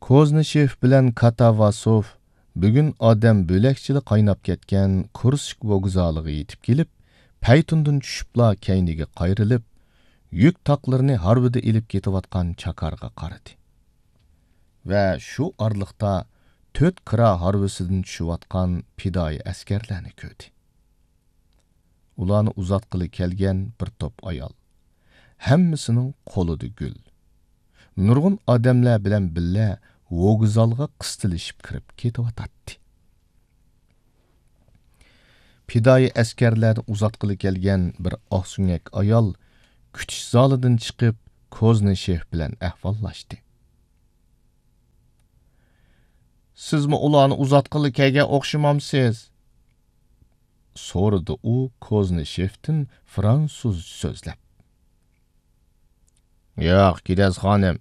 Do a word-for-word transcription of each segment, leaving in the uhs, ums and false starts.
كوزنىشېف بىلەن كاتاۋاسوف بۈگۈن ئادەم بۆلەكچىلا قايناپ كەتكەن كۇرسك ۋوگزالىغا يېتىپ كېلىپ، پەيتۇندىن چۈشۈپلا كەينىگە قايرىلىپ، يۈك تاقلىرىنى ھارۋىدا ئېلىپ كېتىۋاتقان چاكارغا قارىدى. ۋە شۇ ئارىلىقتا تۆت كىرا ھارۋىسىدىن چۈشۈۋاتقان پىدائىي ئەسكەرلەرنى كۆردى. ئۇلارنى ئۇزاتقىلى كەلگەن بىر توپ ئايال. ھەممىسىنىڭ قولىدا گۈل. نۇرغۇن ئادەملەر بىلەن بىللە ۋوگزالغا قىستىلىشىپ كىرىپ كېتىۋاتاتتى. پىدائىي ئەسكەرلەرنى ئۇزاتقىلى كەلگەن بىر ئاقسۆڭەك ئايال كۈتۈش زالىدىن چىقىپ، كوزنىشېف بىلەن ئەھۋاللاشتى. سىزمۇ ئۇلارنى ئۇزاتقىلى كەلگەن ئوخشىمامسىز؟ سورىدى ئۇ كوزنىشېفتىن فرانسۇزچە سۆزلەپ. ياق، كىنەز خانىم.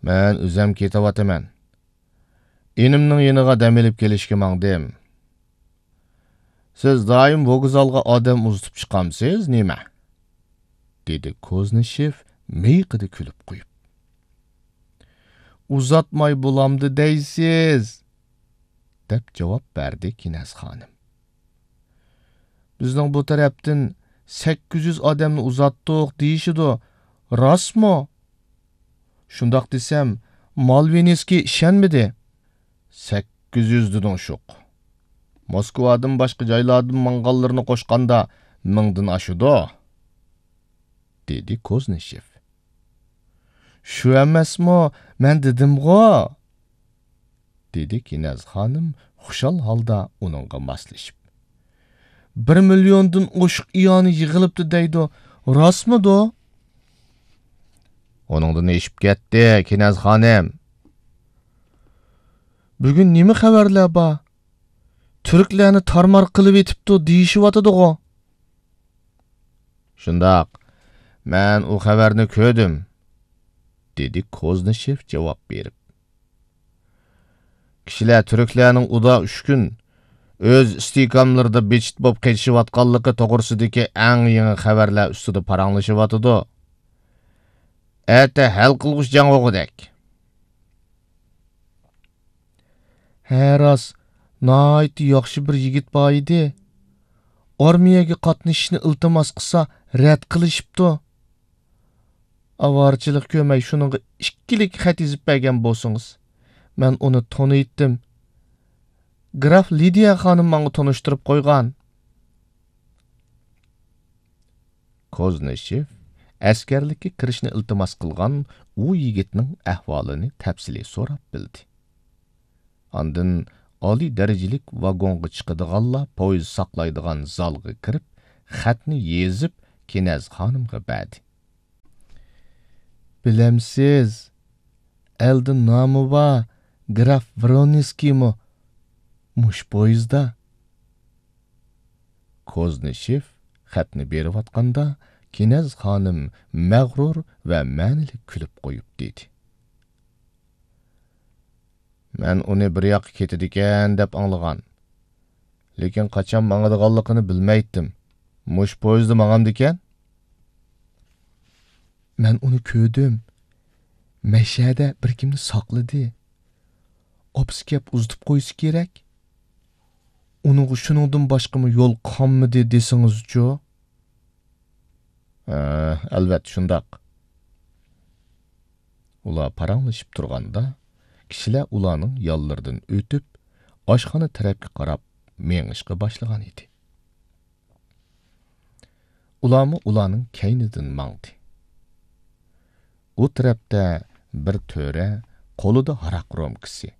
مەن ئۆزەم كېتىۋاتىمەن. ئىنىمنىڭ يېنىغا دەم ئېلىپ كېلىشكە ماڭدىم. سىز دائىم ۋوگزالغا ئادەم ئۇزىتىپ چىقامسىز نېمە؟ دېدى كوزنىشېف مىيىقىدا كۈلۈپ قويۇپ. ئۇزاتماي بولامدۇ دەيسىز؟ دەپ جاۋاب بەردى كىنەز خانىم. بىزنىڭ بۇ تەرەپتىن سەككىز يۈز ئادەمنى ئۇزاتتۇق دېيىشىدۇ. راستمۇ؟ شۇنداق دېسەم، مالۋىنسكىي ئىشەنمىدى. سەككىز يۈز دېدىڭ شۇق. موسكۋادىن باشقا جايلاردىن ماڭغانلىرىنى قوشقاندا مىڭدىن ئاشىدۇ، دېدى كوزنىشېف. شۇ ئەمەسمۇ، مەن دېدىمغۇ، دېدى كىنەز خانىم خۇشال ھالدا ئۇنىڭغا ماسلىشىپ. بىر مىليوندىن ئوشۇق ئىئانە يىغىلىپتۇ دەيدۇ، راستمىدۇ؟ ئۇنىڭدىن ئېشىپ كەتتى، كىنەز خانىم. بۈگۈن نېمە خەۋەرلەر بار؟ تۈركلەرنى تارمار قىلىۋېتىپتۇ دېيىشىۋاتىدىغۇ؟ شۇنداق، مەن ئۇ خەۋەرنى كۆردۈم، دېدى كوزنىشېف جاۋاب بېرىپ. كىشىلەر تۈركلەرنىڭ ئۇدا ئۈچ كۈن ئۆز ئىستىھكاملىرىدا بىچىت بولۇپ قېچىشىۋاتقانلىقى توغرىسىدىكى ئەڭ يېڭى خەۋەرلەر ئۈستىدە پاراڭلىشىۋاتىدۇ. ئەتە ھەل قىلغۇچ جەڭ بولغۇدەك. ھە، راست، ناھايىتى ياخشى بىر يىگىت بار ئىدى. ئارمىيەگە قاتنىشىشنى ئىلتىماس قىلسا، رەت قىلىشىپتۇ. ئاۋارىچىلىق كۆرمەي شۇنىڭغا ئىككىلىك خەت يېزىپ بەرگەن بولسىڭىز. مەن ئۇنى تونۇيتتىم. گراف لىدىيە خانىم ماڭا تونۇشتۇرۇپ قويغان. كوزنىشېف ئەسكەرلىككە كىرىشنى ئىلتىماس قىلغان ئۇ يىگىتنىڭ ئەھۋالىنى تەپسىلىي سوراپ بىلدى. ئاندىن ئالىي دەرىجىلىك ۋاگونغا چىقىدىغانلار پويىز ساقلايدىغان زالغا كىرىپ، خەتنى يېزىپ، كىنەز خانىمغا بەردى. بىلەمسىز، ئەلدە نامى بار گراف ۋرونسكىيمۇ مۇشۇ پويىزدا. كوزنىشېف خەتنى بېرىۋاتقاندا، كىنەز خانىم مەغرۇر ۋە مەنىلىك كۈلۈپ قويۇپ دېدى. مەن ئۇنى بىر ياققا كېتىدىكەن دەپ ئاڭلىغان. لېكىن قاچان ماڭىدىغانلىقىنى بىلمەيتتىم. مۇشۇ پويىزدا ماڭامدىكەن؟ مەن ئۇنى كۆردۈم. مەشەدە بىر كىمنى ساقلىدى. ئاپىسى كەپ ئۇزىتىپ قويسا كېرەك. ئۇنىڭغا شۇنىڭدىن باشقىمۇ يول قالمىدى دېسىڭىزچۇ؟ ھە، ئەلۋەتتە شۇنداق. ئۇلار پاراڭلىشىپ تۇرغاندا، كىشىلەر ئۇلارنىڭ يانلىرىدىن ئۆتۈپ، ئاشخانا تەرەپكە قاراپ مېڭىشقا باشلىغان ئىدى. ئۇلارمۇ ئۇلارنىڭ كەينىدىن ماڭدى. ئۇ تەرەپتە بىر تۆرە قولىدا ھاراق رومكىسى،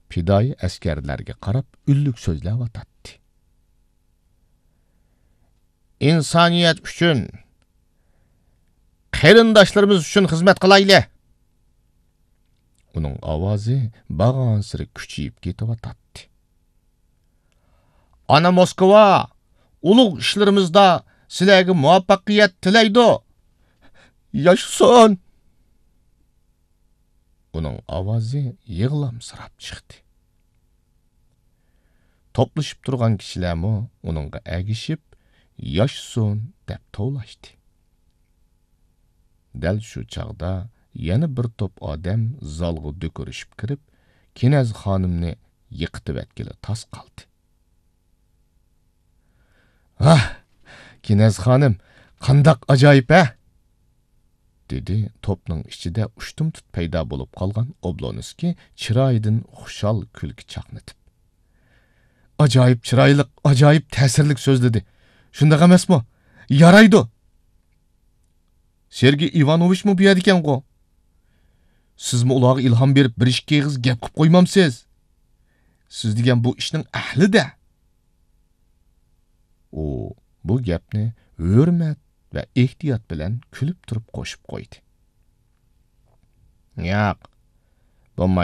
پىدائىي ئەسكەرلەرگە قاراپ ئۈنلۈك سۆزلەۋاتاتتى. ئىنسانىيەت ئۈچۈن، قېرىنداشلىرىمىز ئۈچۈن خىزمەت قىلايلى! ئۇنىڭ ئاۋازى بارغانسېرى كۈچىيىپ كېتىۋاتاتتى. ئانا موسكۋا ئۇلۇغ ئىشلىرىمىزدا سىلەرگە مۇۋەپپەقىيەت تىلەيدۇ! ياشىسۇن! ئۇنىڭ ئاۋازى يىغلامسىراپ چىقتى. توپلىشىپ تۇرغان كىشىلەرمۇ ئۇنىڭغا ئەگىشىپ، ياشىسۇن دەپ توۋلاشتى. دەل شۇ چاغدا يەنە بىر توپ ئادەم زالغا دۆكۈرۈشۈپ كىرىپ، كېنەز خانىمنى يىقىتىۋەتكىلى تاس قالدى. «ھاھ، كېنەز خانىم، قانداق ئاجايىپ، ھە!» دېدى توپنىڭ ئىچىدە ئۇشتۇمتۇت پەيدا بولۇپ قالغان ئوبلونسكىي چىرايىدىن خۇشال كۈلكە چاقنىتىپ. «ئاجايىپ چىرايلىق، ئاجايىپ تەسىرلىك سۆزلىدى. شۇنداق ئەمەسمۇ؟ يارايدۇ!» «سېرگېي ئىۋانوۋىچمۇ بۇ يەردىكەنغۇ؟ سىزمۇ ئۇلارغا ئىلھام بېرىپ، بىر ئىككى ئېغىز گەپ قىپ قويمامسىز؟ سىز دېگەن بۇ ئىشنىڭ ئەھلى-دە!» ئۇ بۇ گەپنى ھۆرمەت ۋە ئېھتىيات بىلەن كۈلۈپ تۇرۇپ قوشۇپ قويدى. «ياق، بولمايدۇ.